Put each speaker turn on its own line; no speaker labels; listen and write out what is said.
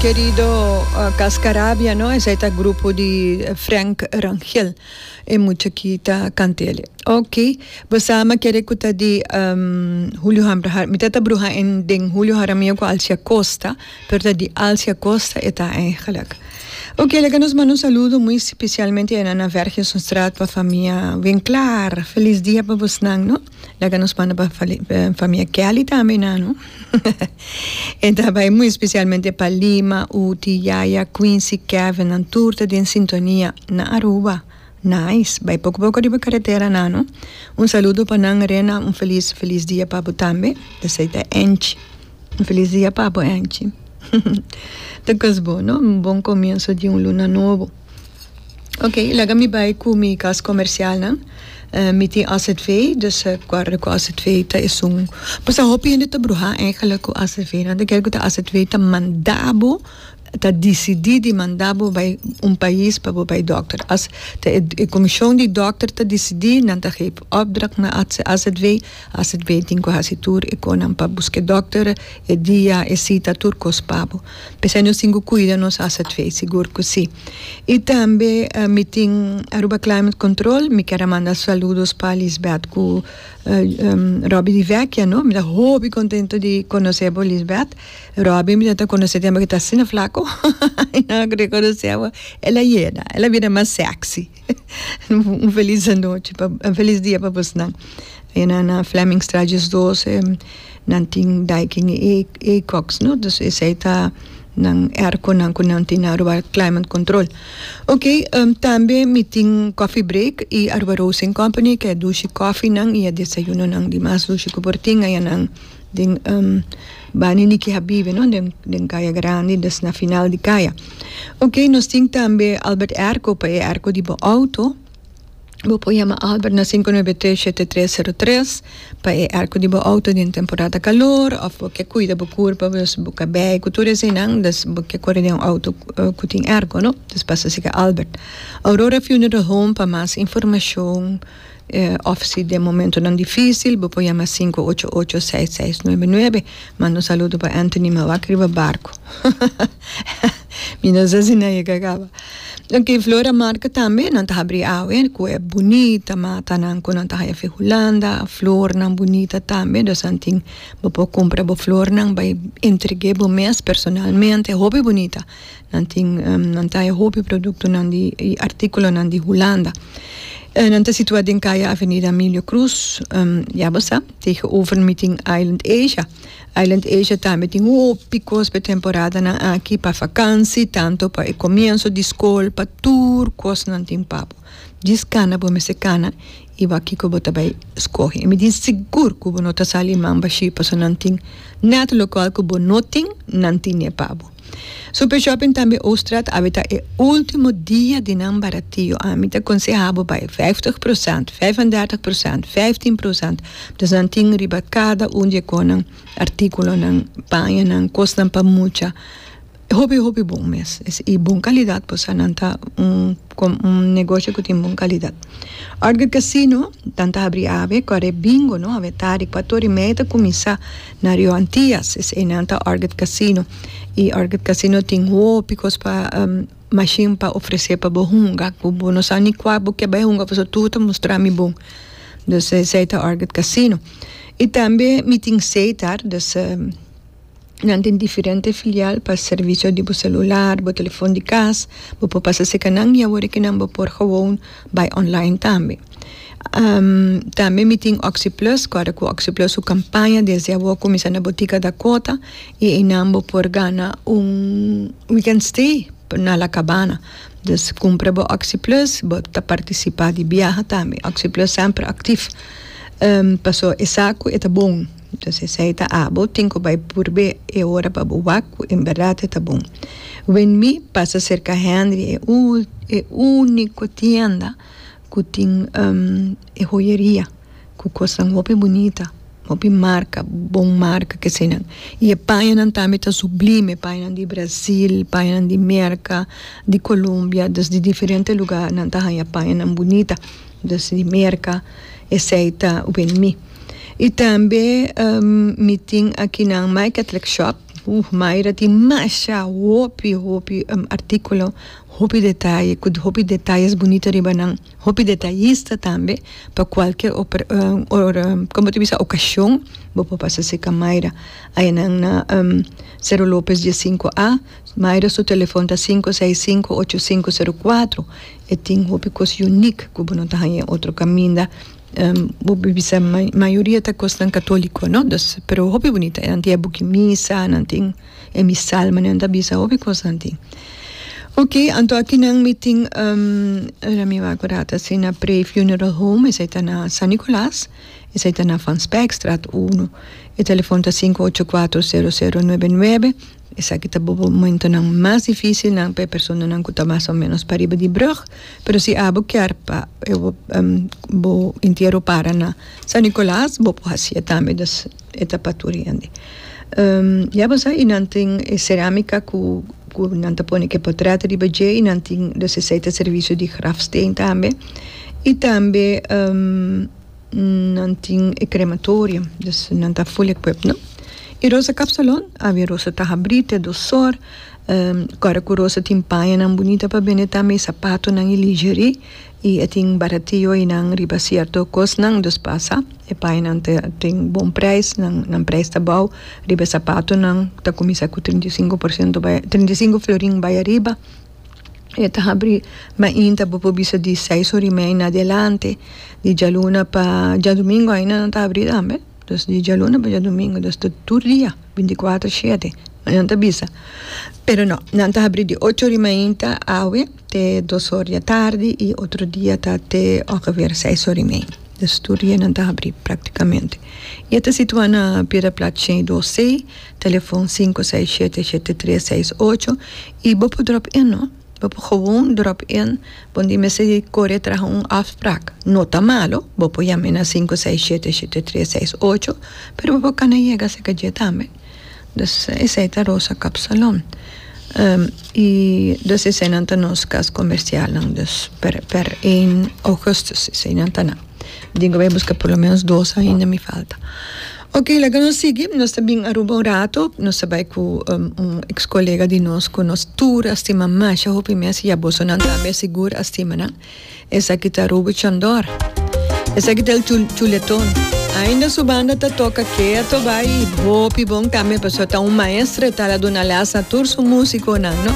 kerido Cascarabia no, esei ta grupo di Frank Rangel e mucha ki ta kant'el. Ok, bo sa mi a kere ku ta di Julio Hambraha, mi ta ta bruha en den Julio Jaramillo ku Alcia Acosta, pero ta di Alcia Acosta e ta eigenlijk. Ok, laga nos manda un saludo muy spesialmente na na Vergensonstraat pa famia Winklaar. Felis dia pa bosnan no. Laga nos manda pa famia Kelly tambe na no. E ta bai muy especialmente pa Lima, Uti, Yaya, Quincy, Kevin, nan tur ta den sintonia na Aruba. Nice. Bai poco poco riba carretera na no. Un saludo pa nan Rena, un feliz feliz dia pa bo tambe. Esey ta Angie. Un feliz dia pa bo Angie. Ta cos bon no, un bon comienzo di un luna nobo. Ok, laga mi bai ku mi kas komersialnan. Mi tin AZV, dus guarda ku AZV ta esun. Pasobra hopi hende ta bruhá eigenlijk ku AZV. Nan ta kere ku ta AZV ta manda bo, ta disidí di manda bo bai un pais pa bo bai dòkter. As ta e komishon di dòkter ta disidí, nan ta geef opdracht na AZV. AZV tin ku hasi tur e konan pa buska e dòkter, e dia, e sita, tur kos pa bo. P'esei nos tin ku kuida nos azv, sigur ku si. I tambe mi tin Aruba Climate Control, mi kier a manda saludos pa Lisbeth ku Robby di Vecchia no, mi ta hopi kontento di konosé bo Lisbeth. Robby mi ta konosé tempu ku ta asina flako, i nan a rekonosé bo, el a yena, el a bira mas sexy. Un felis anochi pa un felis dia pa bosnan. E nan na Flemmingstraat 12 nan tin Daikin y Acox no dus esey ta nan airconan cu nan tin na Aruba Climate Control. Ok tambe mi tin Coffee Break y Aruba Roasting Company ke dushi coffee nan y e desayunonan di mas dushi cu por tin aya nan den Bani Niki Habibe no den den Kaya Grandi des na final di kaya. Ok nos tin tambe Albert Airco pa e airco di bo auto. Bo por yama Albert na 593 7303 pa e airco di bo auto den temporada calor of bo ke cuida bo curpa dus bo cabei cu tur eseinan dus bo ke core den un auto cu tin airco no dus pasa sica Albert. Aurora Funeral Home pa mas informacion of si den momentonan dificil bo por yama 588 6699. Manda un saludo pa Anthony Mawak riba barco. Mi no sa si nan yega caba. Ok, Flora Marca tambe nan ta habri awe cu e bunita matanan cu nan ta haya fi Hulanda, flornan bunita tambe, dus nan tin bo por cumpra bo flornan bay entregue bo mes personalmente, hopi bunita. Nan tin nan ta haya hopi productonan di y articulonan di Hulanda. Nan ta situa den Caya Avenida Emilio Cruz, ya bo sa, tegenover Meeting Island Asia. Island Asia tambe tin hopi kos pa e temporadanan aki, pa vakansi, tanto pa e komienso di skol, pa tur kos nan tin pa bo. Djis kana bo mester kana i wak kiko bo ta bai skohe. I mi tin sigur ku bo no ta sali man bashí pasobra nan tin nèt lokual ku bo no tin, nan tine pa bo. Super Shopping tambe Ooststraat awe ta e ultimo dia di nan baratio. Ami ta konseha bo bai vijftig prosent, vijfendertig prosent, vijftien prosent. Dus nan tin riba kada un di e konan, artikulonan, pañanan, kosnan pa mucha. Hopi hopi bon mes. I bon kalidat pasobra nan ta un un negoshi ku tin bon kalidat. Orgel Casino nan ta habri awe kore bingo no awe tardi kuater i mei ta kuminsá na Rio Antillas eseinan ta Orgel Casino i Orgel Casino tin hopi kos pa mashin pa ofresé pa bo hunga ku bo no sa ni kua bo ke bai hunga pasobra tur ta mustra mi bon dus esei ta Orgel Casino i tambe mi tin Setar dus. Nan tin diferente filial pa servicio di bo celular, bo telefon di cas. Bo por pasa cerca nan y awor aki nan bo por gewoon bay online tambe. Tambe mi tin Oxi Plus, cu ora cu Oxi Plus su campaña desde awor cuminsa na Botica Dakota y eynan bo por gana un weekend stay na La Cabana. Dus cumpra bo Oxi Plus, bo ta participa di biaha tambe. Oxi Plus semper actief paso e sa cu e ta bon. Entonces esei ta abo tin ku bai purbe e ora pa bo wak ku en bèrdat e ta bon. Wen mi pasa serka Henry e e úniko tienda ku tin e hoyeria ku kosnan hopi bunita, hopi marka, bon marka kesenan. I e pañanan tambe ta sublime, pañanan di Brasil, pañanan di Merka, di Colombia, dus di diferente lugar nan ta haña pañanan bunita, dus di Merka, esei ta wen mi. I tambe mi tin akinan My Catholic Shop. Uh, Mayra tin masha hopi hopi artíkulo, hopi detaye, ku hopi detayes bunita riba nan, hopi detayista tambe pa kualke komo ta bisa okashon bo por pasa serka Mayra. Ayanan na Cerro Lopez diesinko A. Mayra su telefon ta sinku seis sinku ocho sinku sero kuatro. E tin hopi kos unique ku bo no ta haña otro kaminda. Bo por bisa mayoria ta kosnan katoliko no, dus pero hopi bunita. Nan tin e buki misa, nan tin e misal manera nan ta bisa, hopi kos nan tin. Ok, anto akinan mi tin ora mi wak un rato asina Pre Funeral Home, esei ta na San Nicolas, esei ta na Van Spijkstraat uno. E telefon ta sinku ocho kuatro sero sero nuebe nuebe. Esaki ta bo momentonan mas dificilnan pa e personanan cu ta mas o menos pariba di brug. Pero si abo kier pa bo entiero para na San Nicolas, bo por hacié tambe, dus e ta pa tur hende. Ya bo sa y nan tin e ceramica cu cu nan ta pone cu e potret riba dje y nan tin dus esey ta servicio di grafsteen tambe. Y tambe. Nan tin e crematorio, dus nan ta full equipped no. Y Rosa Kapsalon, awe Rosa ta habri te dos or, kòrda ku Rosa tin pañanan bunita pa bende tambe y sapatonan y lingerie y e tin baratio eynan riba cierto kosnan, dus pasa e pañanan ta tin bon prijs, nan nan prijs ta bou, riba e sapatonan ta kuminsa ku 35 por ciento bai 35 florin bai ariba. E ta habri mainta bo por bisa di seis ora y mei na adelante, di djaluna pa djadumingu ainda nan ta habri tambe, dus di djaluna pa djadumingu, dus ta tur dia binti kuater shete nan ta bisa. Pero no, nan ta habri di ocho ora y mainta awe te dos ora di atardi y otro dia ta te ongeveer seis ora y mei, dus tur dia nan ta habri practicamente. Y e ta situa na Piedra Plat shen y dos C. Telefon sinku seis shete shete tres seis ocho y bo por drop in no bo por gewoon drop in bo no tin mester di kore traha un afsprak no ta malo bo por yama na sinku seis shete shete tres seis ocho pero bo por kana yega serka dje tambe dus esei ta Rosa Kapsalon y dus eseinan ta nos kas komersialnan dus per per een augustus eseinan ta nan. Tin ku bai buska por lo menos dos ainda mi falta. Ok, laga nos sigui. Nos ta bin Aruba un rato. Nos ta bai ku un ex kolega di nos ku nos tur a stima masha hopi mes i abosonan tambe sigur a stima nan. Esaki ta Ruby Chandor. Esaki ta el chuleton. Ainda su banda ta toka keto bai hopi bon tambe pasobra ta un maestro e ta la duna les na tur su musikonan, no?